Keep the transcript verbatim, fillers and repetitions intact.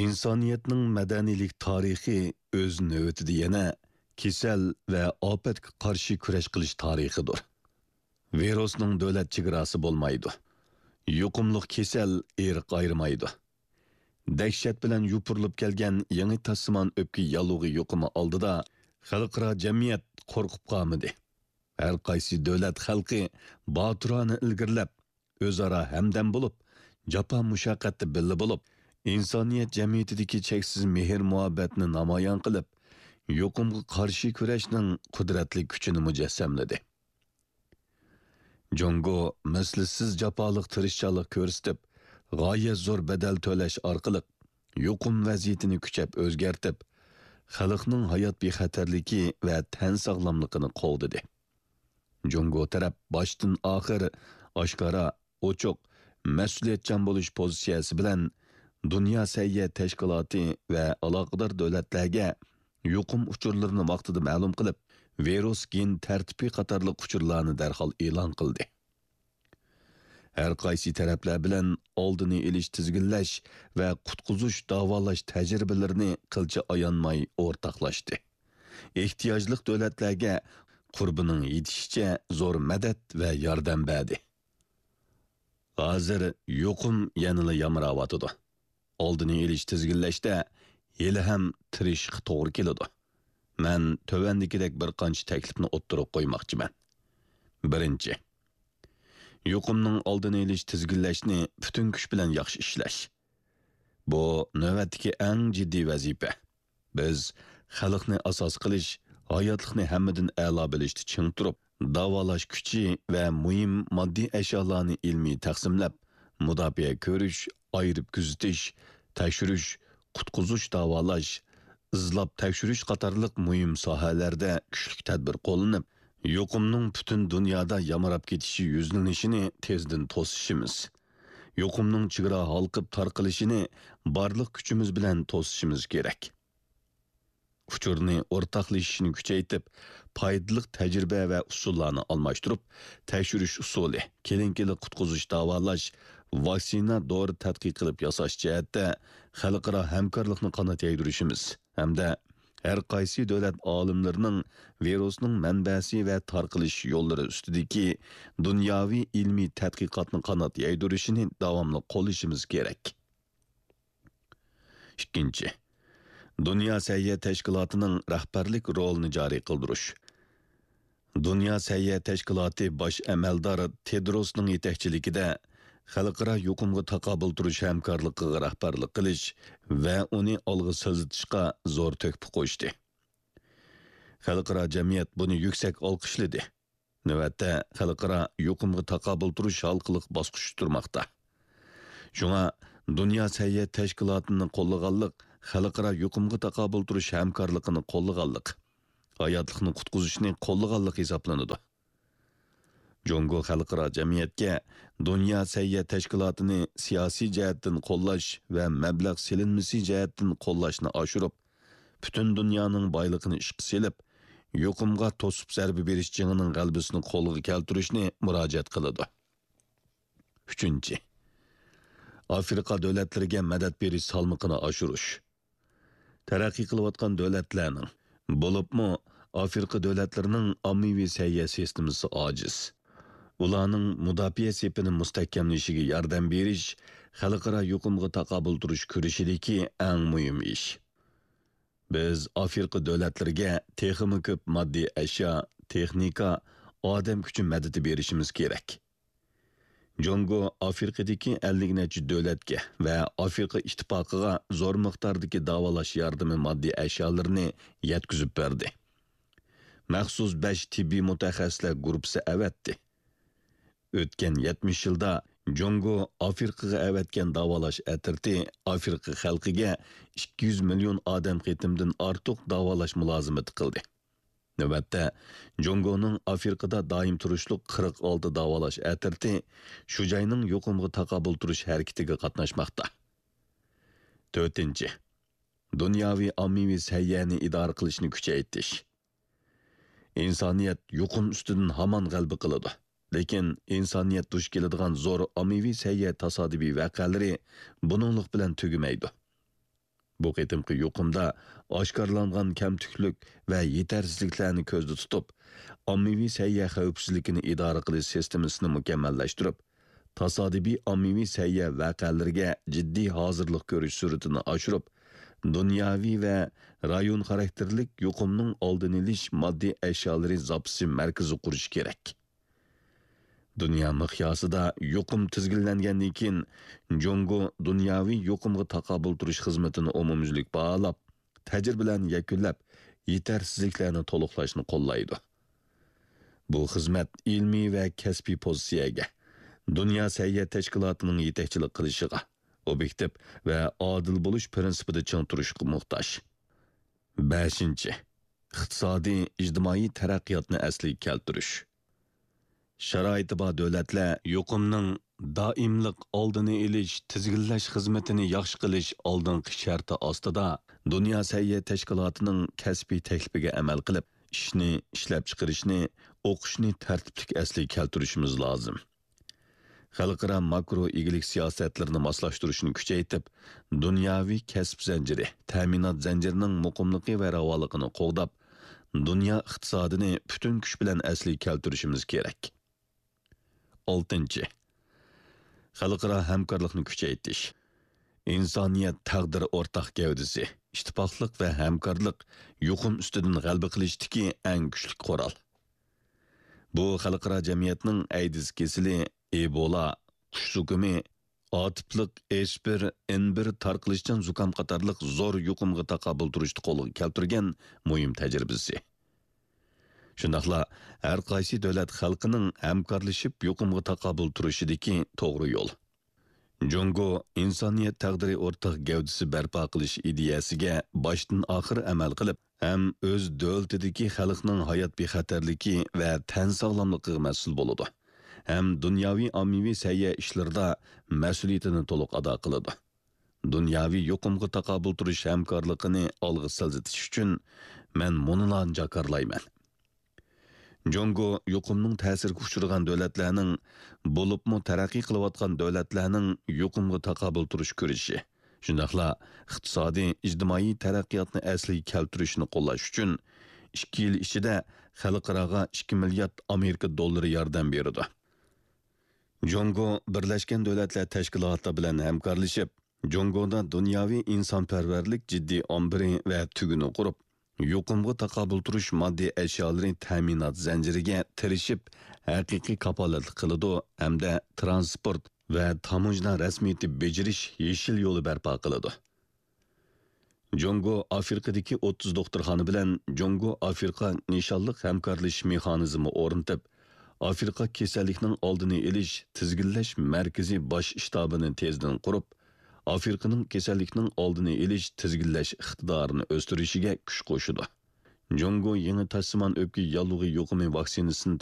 ئىنسانىيەتنىڭ مەدەنىيلىك تارىخى ئۆز نۆۋىتىدە يەنە كېسەل ۋە ئاپەتكە قارشى كۈرەش قىلىش تارىخىدۇر. ۋىرۇسنىڭ دۆلەت چېگراسى بولمايدۇ. يۇقۇملۇق كېسەل ئىرق ئايرىمايدۇ. دەھشەت بىلەن يوپۇرۇلۇپ كەلگەن يېڭى تاشسىمان ئۆپكە ياللۇغى يۇقۇمى ئالدىدا خەلقئارا جەمئىيەت قورقۇپ قالمىدى. ھەر قايسى دۆلەت خەلقى باتۇرانە ئىلگىرىلەپ، ئۆزئارا ھەمدەم بولۇپ، جاپا مۇشەققەتتە بىللە بولۇپ، ئىنسانىيەت جەمئىيىتىدىكى چەكسىز مېھىر مۇھەببەتنى نامايان قىلىپ، يۇقۇمغا قارشى كۈرەشنىڭ قۇدرەتلىك كۈچىنى مۇجەسسەملىدى. جۇڭگو مىسلىسىز جاپالىق تىرىشچانلىق كۆرسىتىپ، غايەت زور بەدەل تۆلەش ئارقىلىق يۇقۇم ۋەزىيىتىنى كۈچەپ ئۆزگەرتىپ، خەلقنىڭ ھايات بىخەتەرلىكى ۋە تەن ساغلاملىقىنى قوغدىدى. جۇڭگو تەرەپ باشتىن ئاخىر ئاشكارا، ئوچۇق، مەسئۇلىيەتچان بولۇش پوزىتسىيەسى بىلەن دۇنيا سەھىيە تەشكىلاتى ۋە ئالاقىدار دۆلەتلەرگە يۇقۇم ئۇچۇرلىرىنى ۋاقتىدا مەلۇم قىلىپ، ۋىرۇس گېن تەرتىپى قاتارلىق ئۇچۇرلارنى دەرھال ئېلان قىلدى. ھەر قايسى تەرەپلەر بىلەن ئالدىنى ئېلىش، تىزگىنلەش ۋە قۇتقۇزۇش، داۋالاش تەجرىبىلىرىنى قىلچە ئايانماي ئورتاقلاشتى. ئېھتىياجلىق دۆلەتلەرگە قۇربىنىڭ يېتىشىچە زور مەدەت ۋە ياردەم بەردى. ھازىر يۇقۇم يەنىلا يامراۋاتىدۇ. ئالدىنى ئېلىش، تىزگىنلەشتە ھېلىھەم تىرىشىشقا توغرا كېلىدۇ. مەن تۆۋەندىكىدەك بىر قانچە تەكلىپنى ئوتتۇرىغا قويماقچىمەن. بىرىنچى، يۇقۇمنىڭ ئالدىنى ئېلىش، تىزگىنلەشنى پۈتۈن كۈچ بىلەن ياخشى ئىشلەش. بۇ نۆۋەتتىكى ئەڭ جىددىي ۋەزىپە. بىز خەلقنى ئاساس قىلىش، ھاياتلىقنى ھەممىدىن ئەلا بىلىشتە چىڭ تۇرۇپ، داۋالاش كۈچى ۋە مۇھىم ماددىي ئەشيالارنى ئىلمىي تەقسىملەپ، مۇداپىئە كۆرۈش، ئايرىپ كۆزىتىش، تەكشۈرۈش، قۇتقۇزۇش، داۋالاش، ئىزلاپ تەكشۈرۈش قاتارلىق مۇھىم ساھەلەردە كۈچلۈك تەدبىر قوللىنىپ، يۇقۇمنىڭ پۈتۈن دۇنيادا يامراپ كېتىشى يۈزلىنىشىنى تېزدىن توسۇشىمىز، يۇقۇمنىڭ چېگرا ھالقىپ تارقىلىشىنى بارلىق كۈچىمىز بىلەن توسۇشىمىز كېرەك. ئۇچۇرنى ئورتاقلىشىشنى كۈچەيتىپ، پايدىلىق تەجرىبە ۋە ئۇسۇللارنى ئالماشتۇرۇپ، تەكشۈرۈش ئۇسۇلى، كېلىنكىلىك قۇتقۇزۇش، داۋالاش، ۋاكسىنا، دورا تەتقىق قىلىپ ياساش جەھەتتە خەلقئارا ھەمكارلىقنى قانات يايدۇرۇشىمىز ھەمدە ھەر قايسى دۆلەت ئالىملىرىنىڭ ۋىرۇسنىڭ مەنبەسى ۋە تارقىلىش يوللىرى ئۈستىدىكى دۇنياۋى ئىلمىي تەتقىقاتنى قانات يايدۇرۇشىنى داۋاملىق قوللىشىمىز كېرەك. ئىككىنچى، دۇنيا سەھىيە تەشكىلاتىنىڭ رەھبەرلىك رولىنى جارى قىلدۇرۇش. دۇنيا سەھىيە تەشكىلاتى باش ئەمەلدار تېدروسنىڭ يېتەكچىلىكىدە خەلقئارا يۇقۇمغا تاقابىل تۇرۇش ھەمكارلىقىغا رەھبەرلىك قىلىش ۋە ئۇنى ئالغا سىلجىتىشقا زور تۆھپە قوشتى. خەلقئارا جەمئىيەت بۇنى يۈكسەك ئالقىشلىدى. نۆۋەتتە، خەلقئارا يۇقۇمغا تاقابىل تۇرۇش ھالقىلىق باسقۇچتا تۇرماقتا. شۇڭا، دۇنيا سەھىيە تەشكىلاتىنى قوللىغانلىق خەلقئارا يۇقۇمغا تاقابىل تۇرۇش ھەمكارلىقىنى قوللىغانلىق، ھاياتلىقنى قۇتقۇزۇشنى قوللىغانلىق ھېسابلىنىدۇ. جۇڭگو خەلقئارا جەمئىيەتكە دۇنيا سەھىيە تەشكىلاتىنى سىياسىي جەھەتتىن قوللاش ۋە مەبلەغ سېلىنمىسى جەھەتتىن قوللاشنى ئاشۇرۇپ، پۈتۈن دۇنيانىڭ بايلىقىنى ئىشقا سېلىپ، يۇقۇمغا توسۇپ زەربە بېرىش جېڭىنىڭ غەلىبىسىنى قولغا كەلتۈرۈشنى مۇراجىئەت قىلىدۇ. ئۈچىنچى، ئافرىقا دۆلەتلىرىگە مەدەت بېرىش سالمىقىنى ئاشۇرۇش. تەرەققىي قىلىۋاتقان دۆلەتلەرنىڭ، بولۇپمۇ ئافرىقا دۆلەتلىرىنىڭ ئاممىۋى سەھىيە سىستېمىسى ئاجىز. ئۇلارنىڭ مۇداپىئە سېپىنى مۇستەھكەملىشىگە ياردەم بېرىش خەلقئارا يۇقۇمغا تاقابىل تۇرۇش كۈرىشىدىكى ئەڭ مۇھىم ئىش. بىز ئافرىقا دۆلەتلىرىگە تېخىمۇ كۆپ ماددىي ئەشيا، تېخنىكا، ئادەم كۈچى مەدىتى بېرىشىمىز كېرەك. جۇڭگو ئافرىقىدىكى ئەللىك نەچچە دۆلەتكە ۋە ئافرىقا ئىتتىپاقىغا زور مىقداردىكى داۋالاش ياردىمى ماددىي ئەشيالىرىنى يەتكۈزۈپ بەردى. مەخسۇس بەش تېببىي مۇتەخەسسىسلەر گۇرۇپپىسى ئەۋەتتى. ئۆتكەن يەتمىش يىلدا جۇڭگو ئافرىقىغا ئەۋەتكەن داۋالاش ئەترىتى ئافرىقا خەلقىگە ئىككى يۈز مىليون ئادەم قېتىمدىن ئارتۇق داۋالاش مۇلازىمىتى قىلدى. نۆۋەتتە، جۇڭگونىڭ ئافرىقىدا دائىم تۇرۇشلۇق قىرىق ئالتە داۋالاش ئەترىتى شۇ جاينىڭ يۇقۇمغا تاقابىل تۇرۇش ھەرىكىتىگە قاتناشماقتا. تۆتىنچى، دۇنياۋى ئاممىۋى سەھىيەنى ئىدارە قىلىشنى كۈچەيتىش. ئىنسانىيەت يۇقۇم ئۈستىدىن ھامان غەلىبە قىلىدۇ. لېكىن ئىنسانىيەت دۇچ كېلىدىغان زور ئاممىۋى سەھىيە تاسادىپىي ۋەقەلىرى بۇنىڭلىق بىلەن تۈگىمەيدۇ. بۇ قېتىمقى يۇقۇمدا ئاشكارىلانغان كەمتۈكلۈك ۋە يېتەرسىزلىكلەرنى كۆزدە تۇتۇپ، ئاممىۋى سەھىيە خەۋپسىزلىكىنى ئىدارە قىلىش سىستېمىسىنى مۇكەممەللەشتۈرۈپ، تاسادىپىي ئاممىۋى سەھىيە ۋەقەلىرىگە جىددىي ھازىرلىق كۆرۈش سۈرئىتىنى ئاشۇرۇپ، دۇنياۋى ۋە رايون خاراكتېرلىك يۇقۇمنىڭ ئالدىنى ئېلىش ماددىي ئەشيالىرى زاپىسى مەركىزى قۇرۇش كېرەك. دۇنيا مىقياسىدا يۇقۇم تىزگىنلەنگەندىن كېيىن، جۇڭگو دۇنياۋى يۇقۇمغا تاقابىل تۇرۇش خىزمىتىنى ئومۇميۈزلۈك باھالاپ، تەجرىبىلەرنى يەكۈنلەپ، يېتەرسىزلىكلەرنى تولۇقلاشنى قوللايدۇ. بۇ خىزمەت ئىلمىي ۋە كەسپىي پوزىتسىيەگە، دۇنيا سەھىيە تەشكىلاتىنىڭ يېتەكچىلىك قىلىشىغا، ئوبيېكتىپ ۋە ئادىل بولۇش پىرىنسىپىدا چىڭ تۇرۇشقا موھتاج. بەشىنچى، ئىقتىسادىي، ئىجتىمائىي تەرەققىياتنى ئەسلىگە كەلتۈرۈش. شارائىتى بار دۆلەتلەر يۇقۇمنىڭ دائىملىق ئالدىنى ئېلىش، تىزگىنلەش خىزمىتىنى ياخشى قىلىش ئالدىنقى شەرتى ئاستىدا، دۇنيا سەھىيە تەشكىلاتىنىڭ كەسپىي تەكلىپىگە ئەمەل قىلىپ، ئىشنى، ئىشلەپچىقىرىشنى، ئوقۇشنى تەرتىپلىك ئەسلىگە كەلتۈرۈشىمىز لازىم. خەلقئارا ماكرو ئىگىلىك سىياسەتلىرىنى ماسلاشتۇرۇشنى كۈچەيتىپ، دۇنياۋى كەسىپ زەنجىرى، تەمىنات زەنجىرىنىڭ مۇقىملىقى ۋە راۋانلىقىنى قوغداپ، دۇنيا ئىقتىسادىنى پۈتۈن كۈچ بىلەن ئەسلىگە كەلتۈرۈشىمىز كېرەك. ئالتىنچى، خەلقئارا ھەمكارلىقنى كۈچەيتىش. ئىنسانىيەت تەقدىرى ئورتاق گەۋدىسى، ئىتتىپاقلىق ۋە ھەمكارلىق يۇقۇم ئۈستىدىن غەلىبە قىلىشتىكى ئەڭ كۈچلۈك قورال. بۇ خەلقئارا جەمئىيەتنىڭ ئەيدىز كېسىلى، ئېبولا، قۇش زۇكىمى، ئاتىپلىق ئېچ بىر ئېن بىر تارقىلىشچان زۇكام قاتارلىق زور يۇقۇمغا تاقابىل تۇرۇشتا قولغا كەلتۈرگەن مۇھىم تەجرىبىسى. شۇنداقلا ھەر قايسى دۆلەت خەلقىنىڭ ھەمكارلىشىپ يۇقۇمغا تاقابىل تۇرۇشىدىكى توغرا يول. جۇڭگو ئىنسانىيەت تەقدىرى ئورتاق گەۋدىسى بەرپا قىلىش ئىدىيەسىگە باشتىن ئاخىر ئەمەل قىلىپ، ھەم ئۆز دۆلىتىدىكى خەلقنىڭ ھايات بىخەتەرلىكى ۋە تەن ساغلاملىقىغا مەسئۇل بولىدۇ، ھەم دۇنياۋى ئاممىۋى سەھىيە ئىشلىرىدا مەسئۇلىيىتىنى تولۇق ئادا قىلىدۇ. دۇنياۋى يۇقۇمغا تاقابىل تۇرۇش ھەمكارلىقىنى ئالغا سىلجىتىش ئۈچۈن مەن مۇنۇلارنى جاكارلايمەن. جۇڭگو يۇقۇمنىڭ تەسىرىگە ئۇچرىغان دۆلەتلەرنىڭ، بولۇپمۇ تەرەققىي قىلىۋاتقان دۆلەتلەرنىڭ يۇقۇمغا تاقابىل تۇرۇش كۈرىشى، شۇنداقلا ئىقتىسادىي، ئىجتىمائىي تەرەققىياتنى ئەسلىگە كەلتۈرۈشنى قوللاش ئۈچۈن ئىككى يىل ئىچىدە خەلقئاراغا ئىككى مىليارد ئامېرىكا دوللىرى ياردەم بېرىدۇ. جۇڭگو بىرلەشكەن دۆلەتلەر تەشكىلاتى بىلەن ھەمكارلىشىپ، جۇڭگودا دۇنياۋى ئىنسانپەرۋەرلىك جىددىي ئامبىرى ۋە تۈگۈنى قۇرۇپ، يۇقۇمغا تاقابىل تۇرۇش ماددىي ئەشيالىرى تەمىنات زەنجىرىگە تىرىشىپ، ھەقىقىي كاپالەتلىك قىلىدۇ ھەمدە ترانسپورت ۋە تاموژنا رەسمىيىتى بېجىرىش يېشىل يولى بەرپا قىلىدۇ. جۇڭگو ئافرىقىدىكى ئوتتۇز دوختۇرخانا بىلەن جۇڭگو ئافرىقا نىشانلىق ھەمكارلىشىش مېخانىزمى ئورنىتىپ، ئافرىقا كېسەللىكنىڭ ئالدىنى ئېلىش، تىزگىنلەش مەركىزى باش شتابىنى تېزدىن قۇرۇپ، ئافرىقىنىڭ كېسەللىكنىڭ ئالدىنى ئېلىش، تىزگىنلەش ئىقتىدارىنى ئۆستۈرۈشىگە كۈچ قوشىدۇ. جۇڭگو يېڭى تاشسىمان ئۆپكە ياللۇغى يۇقۇمى ۋاكسىنىسىنى